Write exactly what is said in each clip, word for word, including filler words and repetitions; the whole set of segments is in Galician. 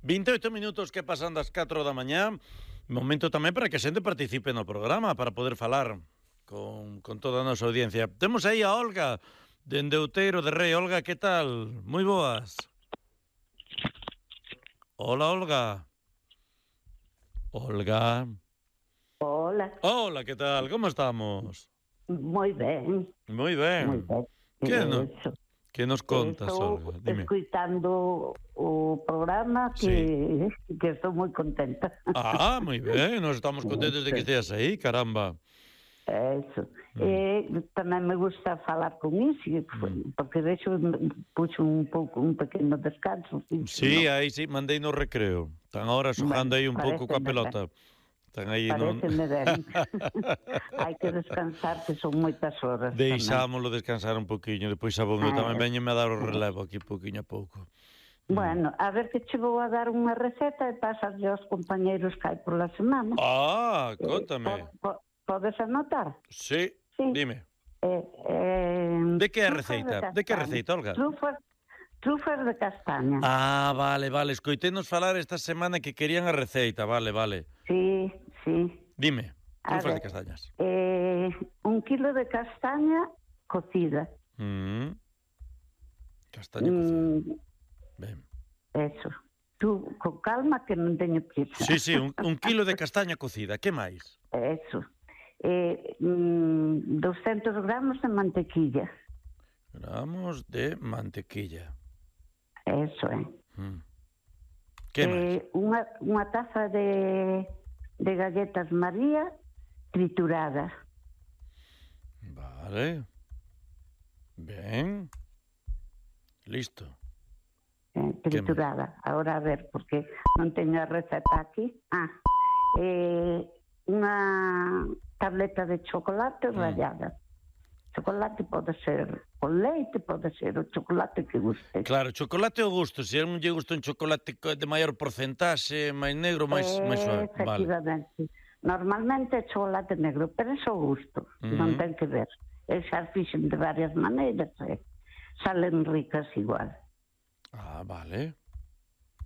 vinte e oito minutos que pasan das catro da mañá. Momento tamén para que a xente participe no programa, para poder falar con, con toda a nosa audiencia. Temos aí a Olga, dende Outeiro de Rei. Olga, que tal? Moi boas. Hola, Olga. Olga. Hola. Hola, que tal? Como estamos? Moi ben. Moi ben. Moi ben. Que, no, Eso. que nos contas, estou Olga? Dime. escuitando o programa que, sí. que estou moi contenta. Ah, moi ben. Nos estamos contentos de que esteas aí, caramba. Eso. Mm. E tamén me gusta falar con Isi, mm. porque de hecho puxo un pouco un pequeno descanso. Sí, ¿no? Aí sí, mandei no recreo. Están ahora xogando bueno, aí un pouco coa pelota. Están aí Pareceme non... ben. Hai que descansar, que son moitas horas. Deixámoslo descansar un poquinho, depois xa vou eu tamén veñeme a dar o relevo aquí poquinho a pouco. Bueno, a ver que che vou a dar unha receta e pasarlle aos compañeiros que hai por la semana. Ah, contame. Eh, po, po, podes anotar? Sí, sí. Dime. Eh, eh, de que é a receita? De, de que é a receita, Olga? Trufas, trufas de castaña. Ah, vale, vale. Escoitenos falar esta semana que querían a receita, vale, vale. Sí, sí. Dime, trufas ver, de castañas. Eh, un kilo de castaña cocida. Mm. Castaña cocida. Mm. Ben. Eso. Tú, con calma, que non teño prisa. Sí, sí, un, un kilo de castaña cocida. Que máis? Eso. Eh, mm, doscientos gramos de mantequilla. Gramos de mantequilla. Eso, eh. Mm. Que máis? Eh, unha, unha taza de, de galletas María trituradas. Vale. Ben. Listo. Eh, triturada. Ahora a ver, porque non teño a receta aquí. Ah, eh, unha tableta de chocolate mm. rallada. Chocolate pode ser con leite, pode ser o chocolate que guste. Claro, chocolate ao gusto. Se non lle gusta un chocolate de maior porcentaxe, máis negro, máis, eh, máis suave. Efectivamente. Vale. Normalmente é chocolate negro, pero é o gusto. Mm-hmm. Non ten que ver. E xa fixen de varias maneiras, eh. Salen ricas igual. Ah, vale.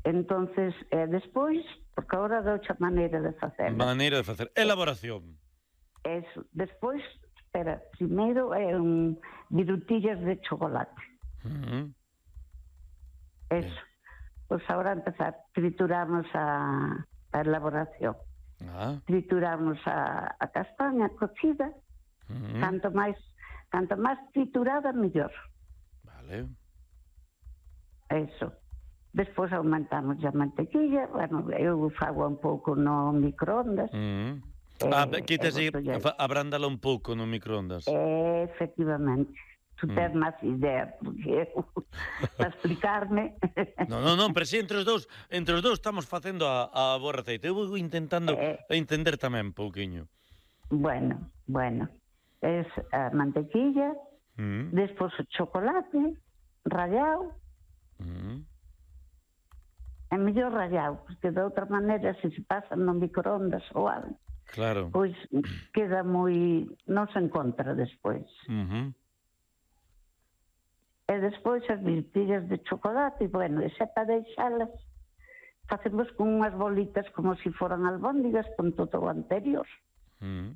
Entonces, eh, despois, porque agora de outra maneira de facer. Maneira de facer. Elaboración. Eso. Despois, espera, primeiro é un virutillas de chocolate. Uh-huh. Eso. Pois pues agora empezar, trituramos a, a elaboración. Ah. Trituramos a, a castaña cocida. Uh-huh. Canto máis, canto máis triturada, mellor. Vale. Eso. Despois aumentamos a mantequilla, bueno, eu fago un pouco no microondas. Mm. Eh, ah, quitas aí, abrándala un pouco no microondas. Eh, efectivamente. Tu tens mm. máis idea, porque eu, para explicarme... non, non, non, pero si entre os dous, entre os dous estamos facendo a, a boa receita. Eu vou intentando eh, entender tamén un pouquiño. Bueno, bueno. Es a mantequilla, mm. despois o chocolate, rallado, Mm. é mellor rallado, porque de outra maneira se se pasa no microondas ou algo, claro, pois queda moi... non se encontra despois. Uh-huh. E despois as virutillas de chocolate, e bueno, e xa para deixalas facemos con unhas bolitas como se si foran albóndigas con todo o anterior. Mm.